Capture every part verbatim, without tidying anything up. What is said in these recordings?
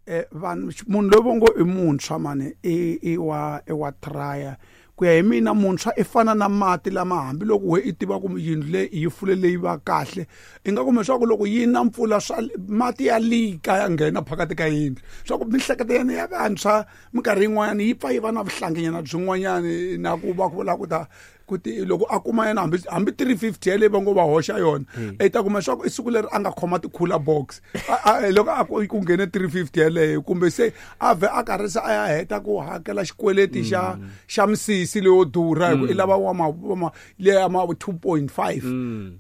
Eh, vanhu munhu loyi vo ngo i muntshwa mani i i wa i wa traya ku ya hi mina muntshwa i fana na mati lama hambiloko we i tiva ku yindlu leyi yi fulele yi va kahle i nga kuma leswaku loko yi na mpfula swa mati ya lika ya nghena phakati ka yindlu swa ku mihleketo ya ya vantshwa minkarhi yin'wanyana yi pfa yi va na vuhlanginyana byin'wanyani na ku va ku lava ku ta ku ti loko a kuma yena hambi hambi three fifty yaleyi va ngo va hoxa yona i ta kuma leswaku i siku leri a nga khoma ti-cooler box loko a ku nghene three fifty yaleyo kumbe se a vhe a karhi se a ya heta ku hakela xikweleti xa xa misisi leyo durha hi ku i lava wa ma leya ma two point five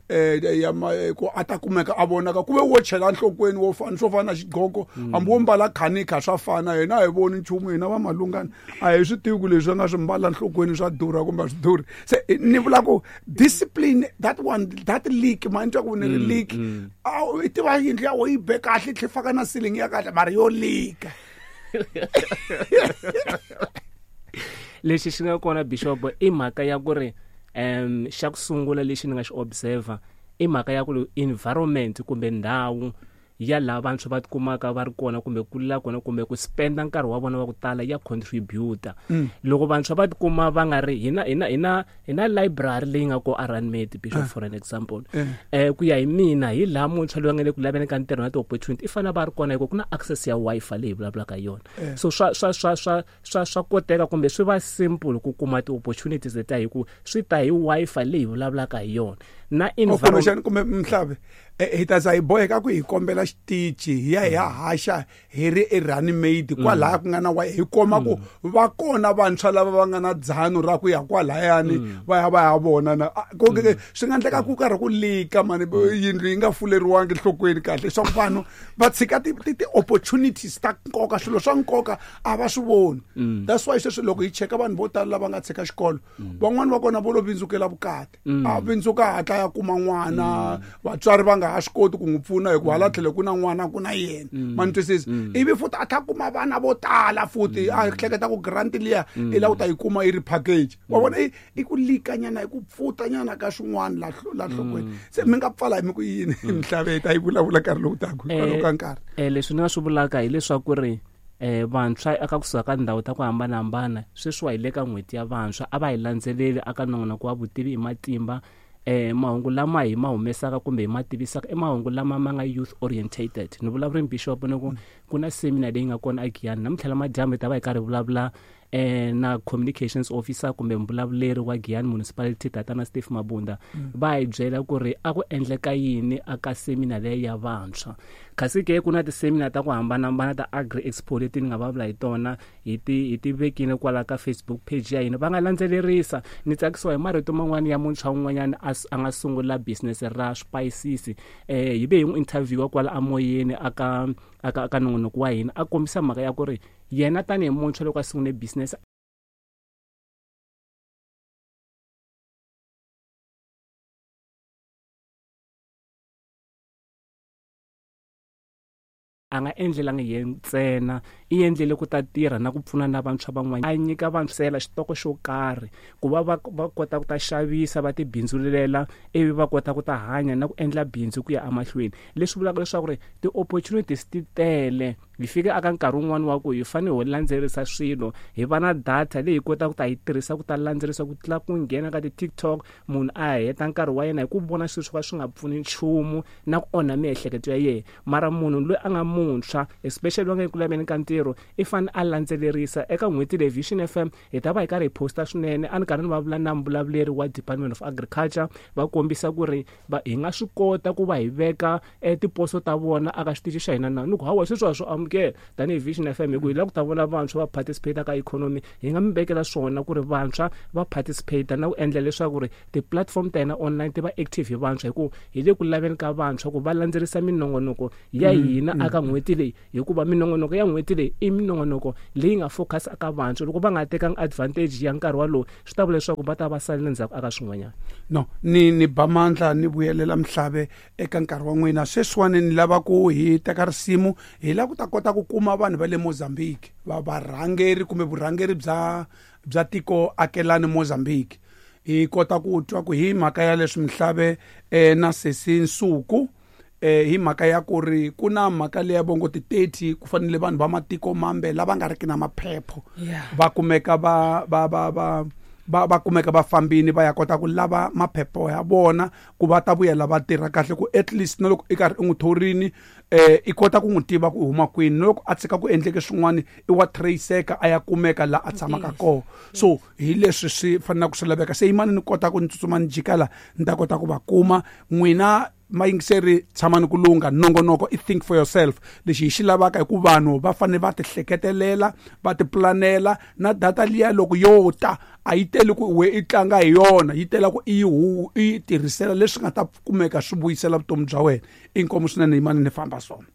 eh ya ku a ta kumeka a vonaka ku ve wo chela nhlokweni wo fana swo fana na xigqoko hambi wo mbala khanika swa fana yena a hi voni nchumu hina va malungana a hi swi tivi ku leswi a nga swi mbala nhlokweni swa durha kumbe a swi durhi se ni vula ku discipline that one that leak ma ni twa ku ni ri leak i tiva yindlu ya wena yi be kahle yi tlhe faka na ceiling ya kahle mara yo leaka lexi xi nga kona bishop i mhaka ya ku ri um xa ku sungula lexi ni nga xi observer i mhaka ya ku environment kumbe ndhawu ya laha vantshwa va tikumaka va ri kona kumbe kulela kona kumbe ku spenda nkarhi wa vona wa ku tala ya contributor mm. loko vantshwa va tikuma va nga ri hina hina hina hina library leyi nga ko Aranmade bishop uh. for an example eh uh. uh, ku ya hi mina hi laha muntshwa loyi a nga le ku laveni ka ntirho na ti-opportunity i fanele va ri kona hikuva ku na access ya Wi-Fi leyi vulavulaka yona uh. so swa swa swa swa swa swa koteka kumbe swi va simple ku kuma ti-opportunities letiya hi ku swi ta hi Wi-Fi leyi vulavulaka hi yona na environment kumbe mhlavi hi ta za hi boheka ku hi kombela xitichi hi ya hi ya haxa hi ri eRunmade kwalaya ku nga na wa hi koma ku va kona vantshwa lava va nga na dzano ra ku ya kwalayani va ya va ya vona na ku swi nga endleka ku karhi ku lika mani yindlu yi nga fuleriwangi nhlokweni kahle leswaku vanhu va tshika ti-opportunities ta nkoka swilo swa nkoka a va swi voni that's why sweswi loko hi cheka vanhu vo tala lava nga tshika xikolo van'wani va kona vo lo vindzukela vukati a vindzuka hatla ya kuma n'wana vatswari va nga ha swi koti ku n'wi pfuna hikuva hala tlhelo ku na n'wana ku na yena ma ni twisisa ivi futhi a tlha kuma vana vo tala futhi a hleketa ku grant liya i lava ku ta yi kuma yi ri package wa vona i i ku likanyana i ku pfutanyana ka swin'wana la la nhlokweni se mi nga pfala hi mi ku yini mhlave hi ta yi vulavula nkarhi lowu taka hikwalaho ka nkarhi um leswi ni nga swi vulaka hileswaku ri eh vantshwa aka kusuka ka ndhawu ta ku hambanahambana sweswiwa hi le ka n'hweti ya vantshwa a va hi landzeleli aka nongonoko wa vutivi hi matimba eh mahungu lama hi ma humesaka kumbe hi ma tivisaka i mahungu lama ma nga youth orientated ni vulavula bishop ni ku ku na seminar leyi nga kona eGiyani namuntlha la madyambu hi ta va hi karhi vulavula eh na communications officer kumbe mbulavuleri wa Giyani municipality tatana Steve Mabunda va hi byela ku ri a ku endleka yini aka seminar leyi ya vantshwa kasi ke ku na ti-seminar ta ku hambanahambana ta agri expo leti ni nga vulavula hi tona hi ti hi ti vekile kwala ka Facebook page ya hina va nga landzelerisa ni tsakisiwa hi marito man'wani ya muntshwa un'wanyana a a nga sungula business ra swipayisisi eh hi ve hi n'wi interviewa kwala amoyeni aka aka aka nongonoko wa hina a kombisa mhaka ya ku ri yena tanihi muntshwa loko a sungule business a nga endlelangi yena ntsena i endlele ku ta tirha na ku pfuna na vantshwa van'wana a nyika vantshwa xitoko xo karhi ku va va va kota ku ta xavisa va tibindzulela ivi va kota ku ta hanya na ku endla bindzu ku ya emahlweni leswi vulaka leswaku ri ti-opportunities ti tele hi fika aka nkarhi wun'wani wa ku hi fanele hi landzelerisa swilo hi va na data leyi hi kotaka ku ta yi tirhisa ku ta landzelerisa ku tlula ku nghena ka ti-TikTok munhu a heta nkarhi wa yena hi ku vona swilo swo ka swi nga pfuni nchumu na ku onha miehleketo ya yena mara munhu loyi a nga muntshwa especially va nga eku laveni ka ntirho i fanele a landzelerisa eka n'hweti leyi Vision F M hi ta va hi karhi hi posta swinene a ni karhi ni vulavula na mbulavuleri wa Department of Agriculture va kombisa ku ri hi nga swi kota ku va hi veka tiposo ta vona aka xitichi xa hina na ni ku hawa sweswi wa swi amukela tanihi Vision F M hi ku hi lava ku ta vona vantshwa va participate ka economy hi nga mi vekela swona ku ri vantshwa va participate na ku endla leswaku ri ti-platform ta hina online ti va active hi vantshwa hi ku hi le ku laveni ka vantshwa ku va landzelerisa minongonoko ya hina aka n'hweti leyi hikuva minongonoko ya n'hweti leyi i minongonoko leyi nga focus aka vantshwa loko va nga tekanga advantage ya nkarhi walowo swi ta vula leswaku va ta va salela ndzhaku aka swin'wanyana no ni ni ba mandla ni vuyelela mhlave eka nkarhi wa n'wina sweswiwani ni lava ku hi teka risimu hi lava ku ta kota ku kuma vanhu va le Mozambique va varhangeri kumbe vurhangeri bya bya tiko akelani Mozambique hi kota ku twa ku hi mhaka ya leswi mhlave eh, na Sesi Nsuku eh hi mhaka ya ku ri ku na mhaka leya vongo ti thirty ku fanele vanhu va matiko mambe lava nga riki na maphepho va kumeka va va va va va va kumeka va fambini va ya kota ku lava maphepho ya vona ku va ta vuyela va tirha kahle ku at least na loko i karhi i n'wi thorini eh i kota ku n'wi tiva ku huma kwini na loko a tshika ku endleke swin'wana i wa traceka a ya kumeka la a tshamaka kona. So hi leswi swi fanelaka swi laveka. Se yimani ni kota ku ni tsutsuma ni jika la ni ta kota ku va kuma n'wina mayingiseri tshamani ku lungha. Nongonoko i think for yourself. Lexi hi xi lavaka hi ku vanhu va fanele va ti hleketelela va ti planela na data liya loko yo ta a yi teli ku we i tlanga hi yona, yi tela ku i yi hu i yi tirhisela leswi nga ta kumeka swi vuyisela vutomi bya wena. Inkomu swinene yimani ni famba swona.